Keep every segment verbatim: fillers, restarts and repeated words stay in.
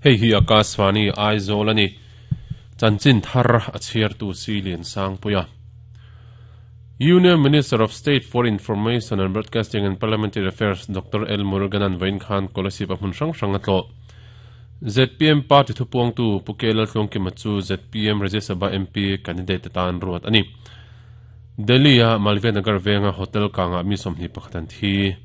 Hei hi Akashvani Aizawl ani. Chanchin thar a chhiar tu si lian sang puia. Union Minister of State for Information and Broadcasting and Parliamentary Affairs Doctor L. Muruganan vain khan Kolasib a hmun hrang hrang a tlawh. Z P M Party thupuang tu Pu K Laltluangkima chu Z P M Rajya Sabha M P candidate tan ruat ani. Delhi a Malviya Nagar venga hotel kanga mi sawmhnih pakhat an thi.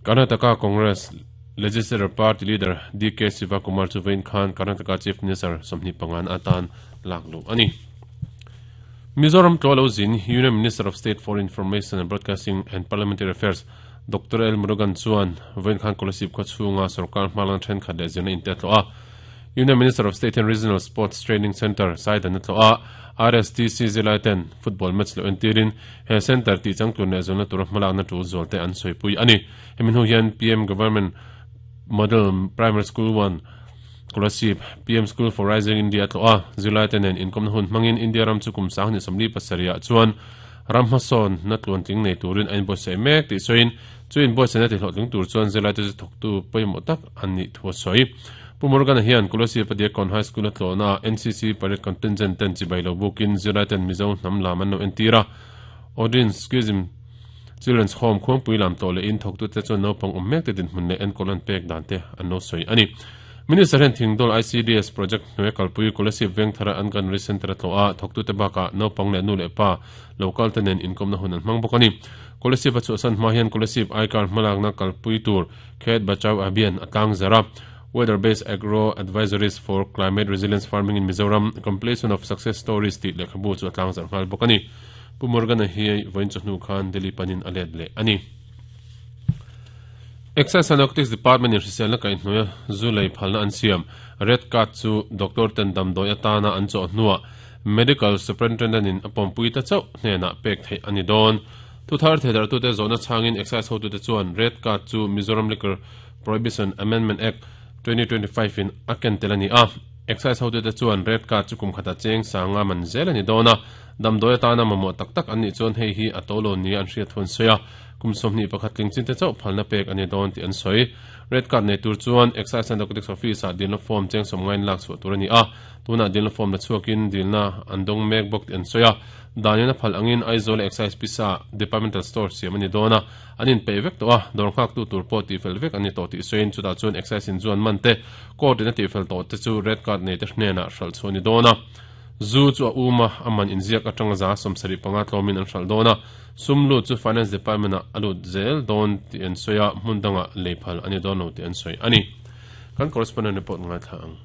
Karnataka Congress Legislative Party Leader D K Sivakumar chu vain khan Karnataka Chief Minister sawmhnih pangan atan laklu ani. Mizoram tlo zin Union Minister of State for Information and Broadcasting and Parliamentary Affairs Doctor L. Murugan chuan vain khan Kolasib khaw chhunga sarkar hmalang then khat leh zirna in te tlo a. Union Minister of State and Regional Sports Training Center Saidan tlo a. R S T C zilai ten football match lo entirin he center ti changtlun leh zawlna tur hmalakna na tul zawl te an sawipui ani. Hemin hu hian P M Government Model Primary School one Kolasib P M School for Rising India tlo a. Zilai ten en inkom hun hmangin India ram chu kum sang ni somli pasaria chuan ram hmasawn na tluan tling nei turin a inbuatsaih mek tih sawiin chu inbuatsaihna ti hlawhtling tur chuan zilai te chu thawktu pawimawh tak an nih thu a sawi. Pu Murugan hian Kolasib Adiakon High School a tlawhna N C C Parade Contingent ten chibai lo bukin zilai ten Mizo hnam lam an lo entir a. Odin Schism Children's Home khuangpui lam tawh leh in thawktu te chuan naupang awm mek te dinhmun leh enkawl an pek dan te an lo sawi ani. Minister hian Thingdawl I C D S project hnuai kalpui Kolasib Vengthara Anganwadi Center a tlawh a thawktu te bakah naupang leh nu leh pa local te nen inkomna hun an hmang bawk ani. Kolasib a chhuahsan hma hian Kolasib Aikar hmalakna kalpui tur Khet Bachao Abhiyan a tlang zara. Weather-based agro advisories for climate resilience farming in Mizoram completion of success stories ti lekhabu chu a tlang zar nghal bawk ani. Pu Murugan hi vain chu hnu khan Delhi panin a let leh ani. Excise and Narcotics Department in hriselna kaihhnuaia zu lei phalna an siam. Red card chu Doctor ten damdawi atana an chawh hnuah Medical Superintendent in a pawmpui ta chauh hnenah pek theih ani dawn. Thu thar thedar tu te zawhna changin Excise hotu te chuan Red card chu Mizoram Liquor Prohibition Amendment Act twenty twenty-five in a ken tel ani a. Excise hotu te chuan red card chu kum khata cheng sanga man zel ani dawn a. Damdawi atana mamawh tak tak an nih chuan hei hi a to lo ni an hriat thun sawi a. Kum sawmhnih pakhat tling chin te chauh phalna pek ani dawn tih an sawi. Red card nei tur chuan Excise and Narcotics Office ah dilna form cheng sawm ngain lak chhuah tur ani a. Tunah dilna form la chhuakin dilna an dawng mek bawk tih an sawi a. Danin a phal angin Aizawl Excise Pisa Departmental Store siam ani dawn a. An inpeih vek tawh a. Dawr nghak tu tur pawh tihfel vek ani tawh tih sawiin chutah chuan Excise in chuan man te court in a tihfel tawh te chu red card nei te hnenah hralh chhuah ani dawn a. Zu chu a uma a man inziak atanga za sawmsarih panga tlawmin an hralh dawn a. Sum lut chu Finance Department ah a lut zel dawn tih an sawi a. Hmun dangah lei phal ani dawn lo tih an sawi ani. Kan correspondent report ngai thla ang.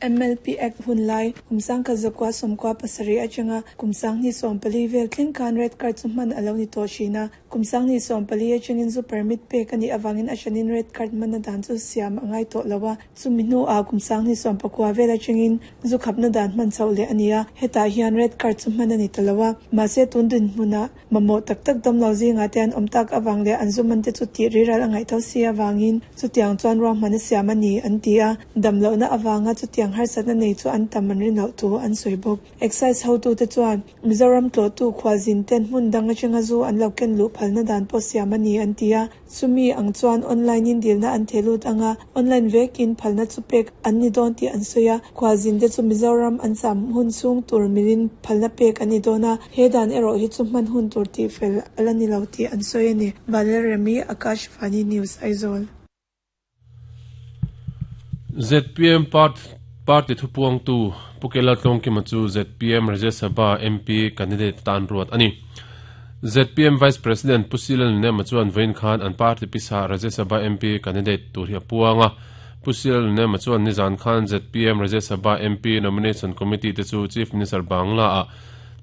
M L P Act hun lai kumsang kha zakwa sawmkwa pasarih atanga kumsang ni sawm pali vel thleng khan red card chu hman alo ni tawh thin a. Kumsang ni sawm pali atangin zu permit pek ani awangin a hranin red card hman a dan chu siam a ngai tawh lo a. Chumi hnu a kumsang ni sawm pakua vel atangin zu khapna dan hman chauh leh ani a. Hetah hian red card chu hman ani ta lo a. Mahse tun din hmunah mamawh tak tak dam lo zinga te an awm tak awang leh an zu man te chu tih riral a ngaih tho si awangin chutiang chuan ruahman a siam ani an ti a. Dam lohna awanga chutiang harsatna nei chu an tam an rin loh thu an sawi bawk. Excise hotu te chuan Mizoram tlawhtu khualzin ten hmun dang atanga zu an lo ken luh phalna dan pawh siam ani an ti a. Chumi ang chuan online in dilna an thelut anga online vekin phalna chu pek an ni dawn tih an sawi a. Khualzin te chu Mizoram an cham hun chung tur milin phalna pek ani dawn a. He dan erawh hi chu hman hun tur tih fel ala ni lo tih an sawi ani. Vanlal Remi, Akashvani News, Aizawl. Z P M Part Party thupuang tu Pu K Laltluangkima chu Z P M Rajya Sabha M P candidate tan ruat ani. Z P M Vice President Pu C Lalnema chuan vain khan an party pisa Rajya Sabha M P candidate tur hi a puanga. Pu C Lalnema chuan nizan khan Z P M Rajya Sabha M P nomination committee te chu Chief Minister Bangla a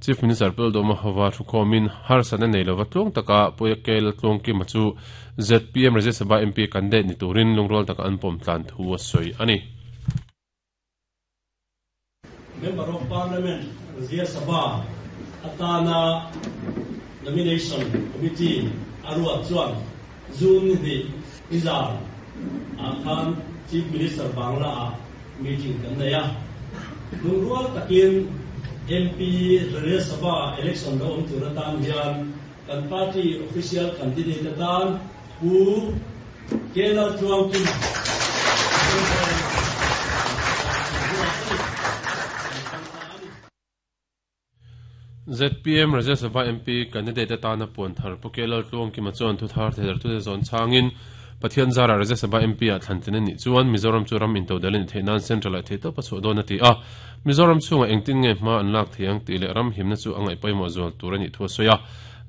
Chief Minister Peldoma Hova thukhomin harsana nei lova tlung taka Pu K Laltluangkima chu Z P M Rajya Sabha M P candidate ni turin lungrol taka an pawm tlan thu a sawi ani. Member of Parliament Rajya Sabha atana nomination committee arua chuan June ni izar akhan Chief Minister Bangla a meeting kan nei a. Lungrual takin M P Rajya Sabha election lo awm tur atan hian kan party official candidate atan Pu K Laltluangkima. Z P M Rajya Sabha M P candidate atana puan thar Pu K Laltluangkima chuan thu thar theidartute zawn changin Pathian zara Rajya Sabha M P a thlan tlin a nih chuan Mizoram chu ram intodelh a ni theih nan central ah theih tawp a chhuah dawn a ti a. Mizoram chhungah engtin nge hma an lak thei ang tih leh ram himna chu a ngaih pawimawh zual tur a nih thu a sawi a.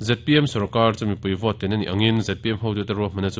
Z P M sorkar chu mipui vote tlin a nih angin Z P M hotute ruahmanna chu